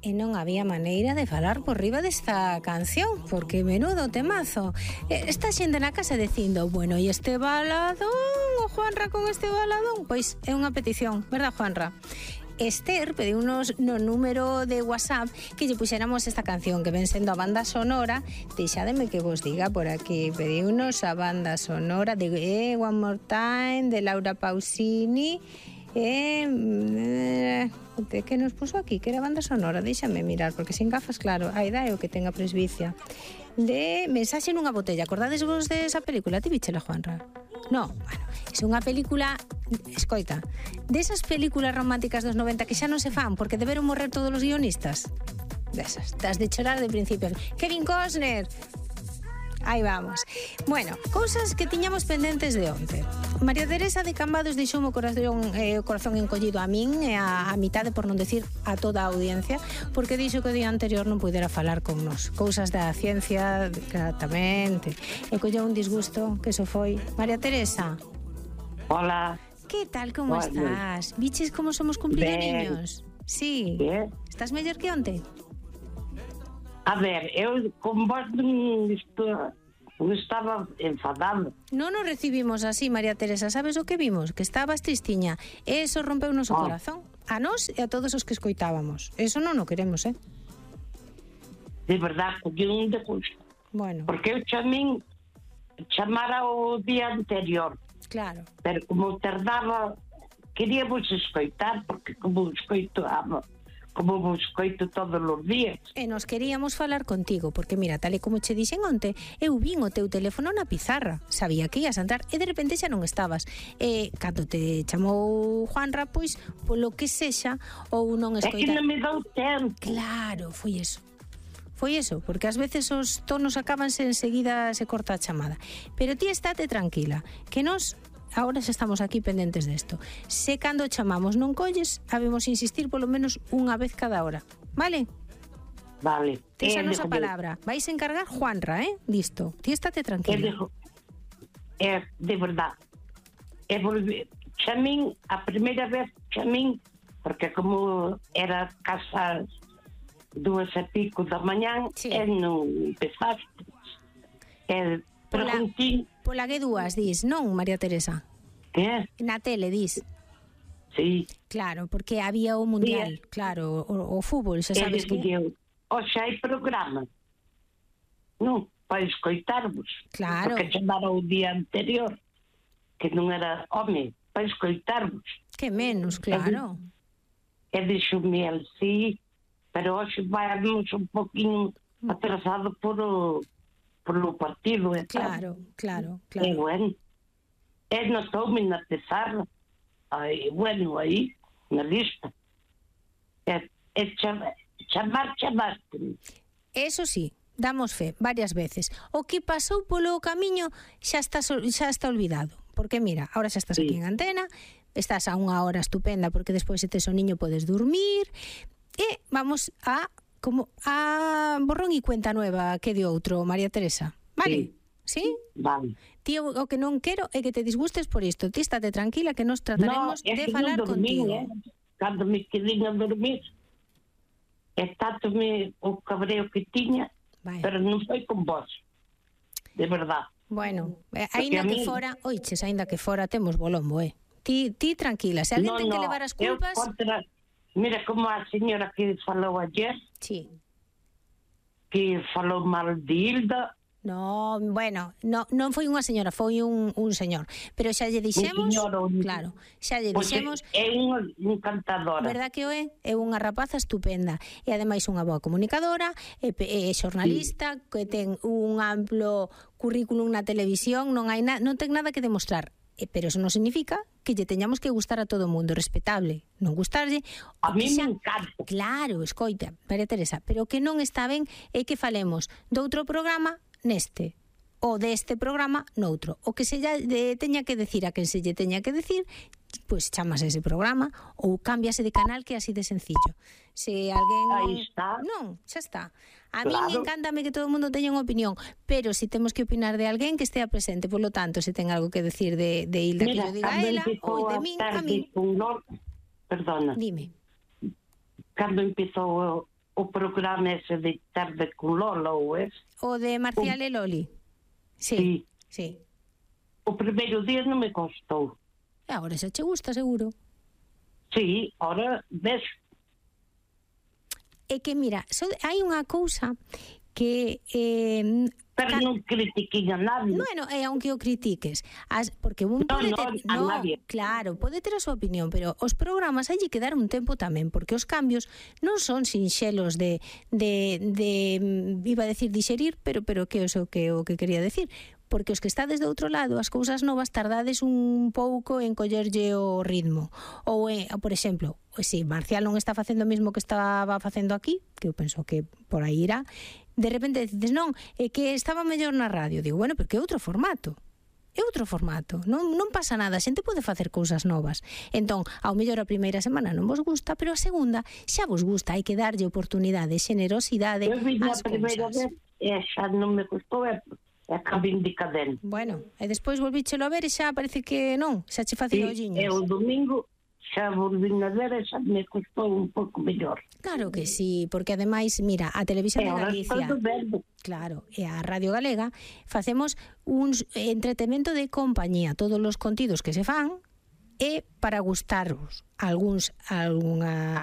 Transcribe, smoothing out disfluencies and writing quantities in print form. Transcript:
E non había maneira de falar por riba desta canción, porque menudo temazo. Está xente na casa dicindo, bueno, e este baladón, o Juanra con este baladón? Pois é unha petición, verdad, Juanra? Esther pediunos no número de WhatsApp que lle puxéramos esta canción que ven sendo a banda sonora. Deixádeme que vos diga por aquí. Pediunos a banda sonora de One More Time, de Laura Pausini. Que nos puso aquí, que era banda sonora, déxame mirar, porque sin gafas, claro, a idade o que tenga presbicia. De Mensaxe nunha botella. Acordades vos desa película? Ti víchela, Juanra? No, bueno, é unha película, escoita, desas películas románticas dos 90 que xa non se fan porque deberon morrer todos os guionistas. Desas, das de chorar de principio. Kevin Costner. Aí vamos. Bueno, cousas que tiñamos pendentes de onte. María Teresa de Cambados deixou o corazón encollido a min e a mitade, por non decir a toda a audiencia, porque dixo que o día anterior non pudera falar con nós. Cousas da ciencia, exactamente. E colleu un disgusto que eso foi. María Teresa. Hola. Que tal, como estás? Viches como somos cumplidoriños? Sí. Bien. Estás mellor que onte? A ver, eu con vos non estaba enfadado. Non nos recibimos así, María Teresa. Sabes o que vimos? Que estabas tristiña. Eso rompeu o noso corazón. A nós e a todos os que escoitábamos. Eso non o queremos, De verdad, colleu un de gusto. Bueno. Porque eu chamara o día anterior. Claro. Pero como tardaba, quería vos escoitar, porque como vos escoito todos os días. E nos queríamos falar contigo, porque mira, tal e como che dixen onte, eu vin o teu teléfono na pizarra, sabía que ias a entrar e de repente xa non estabas. E cando te chamou Juanra, pois, polo que sexa, ou non escoitar. É que non me dou tempo. Claro, foi eso. Foi eso, porque ás veces os tonos acabanse enseguida se corta a chamada. Pero ti estate tranquila, que nos agora xa estamos aquí pendentes desto. Se cando chamamos non colles, habemos insistir polo menos unha vez cada hora. Vale? Vale. Tes a nosa palabra. Vais a encargar Juanra, disto. Ti estate tranquila. De verdad. Chamín, a primeira vez chamín, porque como era casas 2:00 da mañán, sí. E non empezaste. Pola G2 dis, non, María Teresa? Que? Na tele dis. Sí. Claro, porque había o mundial, sí. Claro, o fútbol, xa sabes que... Oxe, hai programa. Non, para escoitarvos. Claro. Porque chamara o día anterior, que non era home, para escoitarvos. Que menos, claro. E dixo-me el, sí, pero hoxe vamos un poquinho atrasado por o partido. Claro. E bueno, notoume na pizarra, aí, na lista. Chamaste. Eso sí, damos fe, varias veces. O que pasou polo camiño xa está olvidado. Porque mira, ahora xa estás aquí en antena, estás a unha hora estupenda porque despois se tes o niño podes dormir, e vamos a borrón e cuenta nueva que de outro, María Teresa. Vale? Sí? Vale. Tío, o que non quero é que te disgustes por isto. Ti estate tranquila que nos trataremos de falar contigo. Cando me quedei a dormir, tanto-me o cabreo que tiña, pero non foi con vos. De verdad. Bueno, aínda que fora, oiches, aínda que fora temos bolombo, Ti tranquila, se alguén ten que levar as culpas... Mira como a señora que falou ayer, sí, que falou mal de Hilda. No, bueno, non foi unha señora, foi un señor. Pero xa lle dixemos, claro, xa lle dixemos. É unha encantadora. Verdad que é unha rapaza estupenda. E ademais unha boa comunicadora, é xornalista, que ten un amplo currículum na televisión, non ten nada que demostrar. Pero eso non significa que lle teñamos que gustar a todo o mundo, respetable. Non gustarlle... A mí me encanta. Claro, escoita, María Teresa, pero o que non está ben é que falemos doutro programa neste, ou deste programa noutro. O que se lle teña que decir a quen se lle teña que decir, pois chamas ese programa ou cámbiase de canal, que é así de sencillo. Se alguén... Aí está. Non, xa está. A mí encántame que todo o mundo teña unha opinión, pero se temos que opinar de alguén que estea presente, por lo tanto, se ten algo que decir de Hilda, que yo diga a ela, ou de min, a min. Perdona. Dime. Cando empezou o programa ese de tarde con Lola, ou es? O de Marcial e Loli. Sí, sí. O primeiro día non me gostou. E agora xa che gusta, seguro. Sí, ahora ves. É que, mira, hai unha cousa que... Pero non critiquin a nadie. Bueno, aunque o critiques, porque un pode ter, claro, pode ter a súa opinión, pero os programas hai que dar un tempo tamén, porque os cambios non son sinxelos de iba a decir digerir, pero que é o que quería decir, porque os que estades do outro lado, as cousas novas tardades un pouco en collerlle o ritmo. Ou, por exemplo, se Marcial non está facendo o mesmo que estaba facendo aquí, que eu penso que por aí irá, de repente dices, non, é que estaba mellor na radio. Digo, bueno, pero que é outro formato. É outro formato. Non pasa nada, a xente pode facer cousas novas. Entón, ao mellor a primeira semana non vos gusta, pero a segunda xa vos gusta. Hai que darlle oportunidade, generosidade ás cousas. Eu vi a primeira vez e xa non me gustou, é que vin de cadena. Bueno, e despois volvíchelo a ver e xa parece que non, xa che facía olliños. E o domingo xa volvín a ver e xa me custou un pouco mellor. Claro que sí, porque ademais, mira, a Televisión de Galicia, claro, e a Radio Galega facemos un entretemento de compañía, todos os contidos que se fan é para gustarvos. Algunha